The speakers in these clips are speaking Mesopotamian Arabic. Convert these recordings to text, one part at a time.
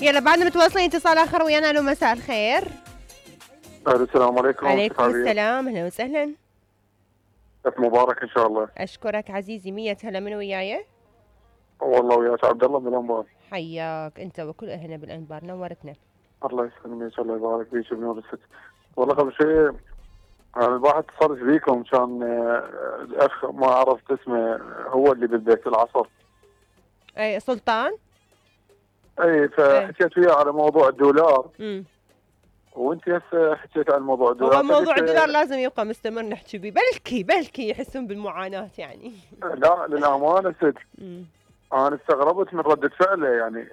يلا بعدنا متواصلين اتصال اخر ويانا. الو مساء الخير. السلام عليكم. عليكم السلام، اهلا وسهلا. مبارك ان شاء الله. اشكرك عزيزي. 100 هلا. من وياي؟ والله وياك عبد الله من الانبار. حياك انت وكل اهلنا بالانبار، نورتنا. الله يسلمك، الله يبارك فيك بنور الست. والله قبل شيء الواحد اتصلت بيكم كان الاخ ما عرفت اسمه هو اللي بالبيت العصر. اي سلطان. اي فحكيت وياه على موضوع الدولار. وانت هسه حكيت عن موضوع الدولار. هو موضوع الدولار لازم يبقى مستمر نحكي بيه، بلكي يحسون بالمعاناة يعني. لا للامانه ست. انا استغربت من ردة فعله يعني.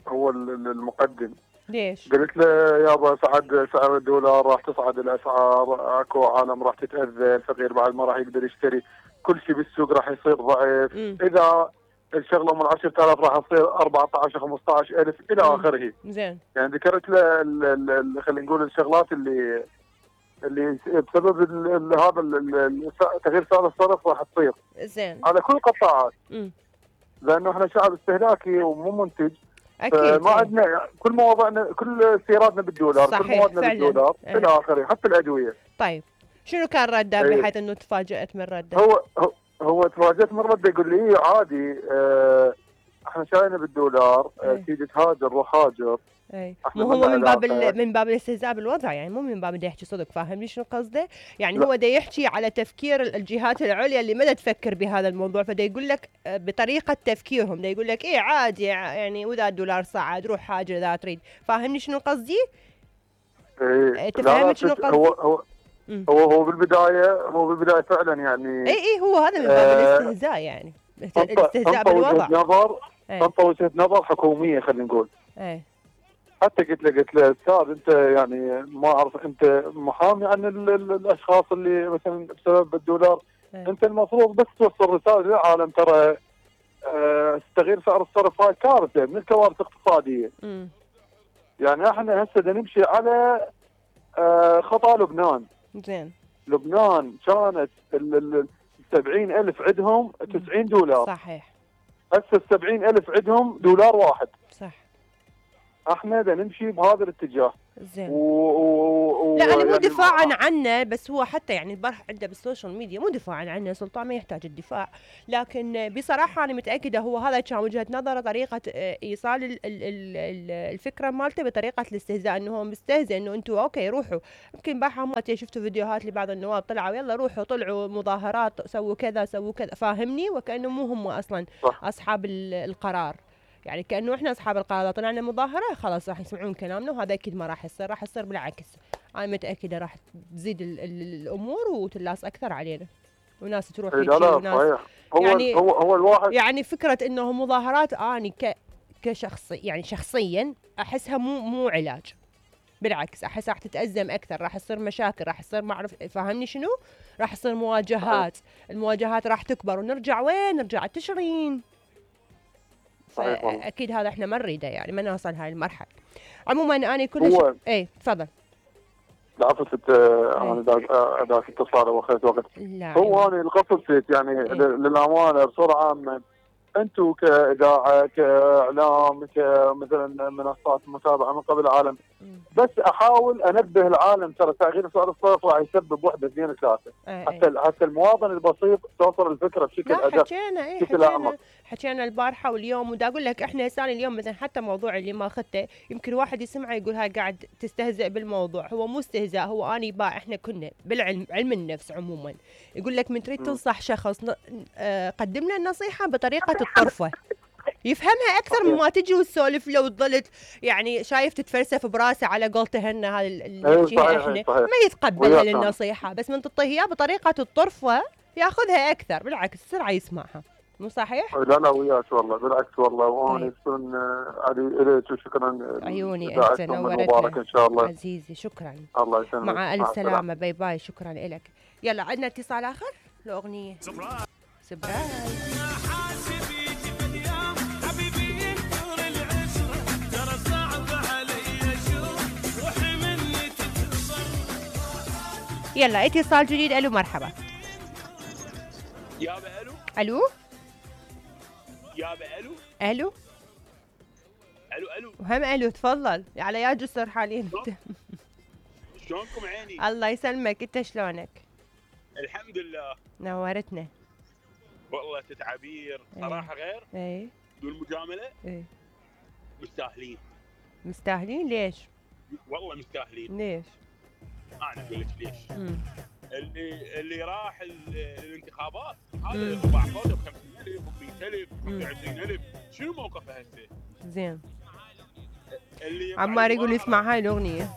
هو المقدم. ليش؟ قلت له يابا صعد سعر الدولار، راح تصعد الاسعار، اكو عالم راح تتاذى، الفقير بعد ما راح يقدر يشتري، كل شيء بالسوق راح يصير ضعيف، اذا الشغله من 10,000 راح تصير 14 15,000 الى اخره. زين. يعني ذكرت له خلينا نقول الشغلات اللي بسبب هذا تغيير سعر الصرف راح تصير. زين. على كل القطاعات. لانه احنا شعب استهلاكي ومو منتج. اكيد. ما عندنا كل مواضيعنا كل سياراتنا بالدولار، صحيح. كل موادنا بالدولار الى اخره، حتى الادويه. طيب شنو كان رده بحيث انه تفاجأت من رده؟ هو تفاجأت من رده، يقول لي عادي احنا شاينا بالدولار، تيجي تهاجر روح هاجر. اي مو هو من باب الاستهزاء بالوضع يعني، مو من باب بده يحكي صدق. فاهمني شنو قصده؟ يعني لا. هو دا يحكي على تفكير الجهات العليا اللي ما تفكر بهذا الموضوع، فدا يقول لك بطريقه تفكيرهم، دا يقول لك ايه عادي يعني واذا الدولار صعد روح هاجر اذا تريد. فاهمني شنو قصدي؟ ايه تفهمني شنو قصدي؟ هو بالبدايه فعلا يعني. اي هو هذا من باب الاستهزاء يعني، الاستهزاء بالوضع. تنطى وجهه نظر حكوميه خلينا نقول. اي حتى قلت له استاذ انت يعني ما اعرف انت محامي عن الاشخاص اللي مثلا بسبب الدولار. انت المفروض بس توصل رساله للعالم ترى تغيير سعر الصرف هاي كارثه من الكوارث الاقتصاديه. يعني احنا هسه نمشي على خطا لبنان. زين. لبنان كانت 70,000 عندهم 90 دولار. صحيح. هسه 70,000 عندهم دولار واحد. صح. احنا نمشي بهذا الاتجاه. زين. لا انا مو يعني دفاعا عنه، بس هو حتى يعني البارح عنده بالسوشيال ميديا، مو دفاعا عنه، سلطان ما يحتاج الدفاع، لكن بصراحه انا متاكده هو هذا كان وجهه نظره، طريقه ايصال الفكره مالته بطريقه الاستهزاء، انه هو مستهزئ انه انتم اوكي روحوا. يمكن بارحه ما شفتوا فيديوهات لبعض النواب طلعوا يلا روحوا طلعوا مظاهرات سووا كذا سووا كذا، فاهمني؟ وكانه مو هم اصلا صح. اصحاب القرار، يعني كأنه احنا اصحاب القرار. اذا طلعنا مظاهره خلاص راح يسمعون كلامنا، وهذا اكيد ما راح يصير، راح يصير بالعكس. انا متاكده راح تزيد الامور وتلاص اكثر علينا، وناس تروح وناس يعني هو الواحد يعني فكره انه مظاهرات اني كشخص يعني شخصيا احسها مو علاج، بالعكس احس راح تتأزم اكثر، راح يصير مشاكل، راح يصير ما اعرف فاهمني شنو، راح يصير مواجهات. المواجهات راح تكبر ونرجع وين؟ نرجع التشرين. فاكيد هذا احنا ما نريده يعني، ما نوصل هاي المرحله. عموما انا كل شيء ايه تفضل. لا عفت انا ذاك اتصال واخذت وقت. هو انا القصد يعني للامانه بصوره عامه، انتم كاذاعه كاعلام كمثلا منصات متابعه من قبل العالم، بس احاول انبه العالم ترى تغيير سعر الصرف راح يسبب وحده اثنين ثلاثه. حتى المواطن البسيط توصل الفكره بشكل ادق. حكينا البارحه واليوم، ودا اقول لك احنا هسه اليوم مثلا حتى موضوع اللي ما اخذته، يمكن واحد يسمعه يقول هاي قاعد تستهزئ بالموضوع. هو مو استهزاء، هو اني باع. احنا كنا بالعلم، علم النفس عموما يقول لك من تريد تنصح شخص قدم له النصيحه بطريقه الطرفه، يفهمها اكثر مما تجي وتسولف له وتظل يعني شايف تتفلسف براسه على قولته هن هذا الشيء احنا ما يتقبل النصيحه، بس من تعطيه اياه بطريقه الطرفه ياخذها اكثر، بالعكس بسرعه يسمعها. مو صحيح؟ لا وياك والله، بالعكس والله. وانا يكون علي اليك وشكرا. عيوني انت نورتنا ان شاء الله عزيزي. شكرا. الله يسلمك. مع الف سلامه. باي باي. شكرا لك. يلا عندنا اتصال اخر لاغنيه سبرايز. يلا اتصال جديد. الو مرحبا. يابا الو. الو يابا الو. الو الو وهم الو، تفضل على يا جسر حاليا. شلونكم عيني؟ الله يسلمك، انت شلونك؟ الحمد لله. نورتنا والله تتعبير صراحه غير. ايه بدون مجامله. ايه مستاهلين. مستاهلين ليش؟ والله مستاهلين. ليش؟ انا اقول لك ليش. اللي راح الانتخابات هذا مم. باع فوزه ب 50,000 و 100,000 و 25,000، شنو موقفه هسه؟ زين. اللي عمار يقول يطلع يسمع هاي الاغنيه.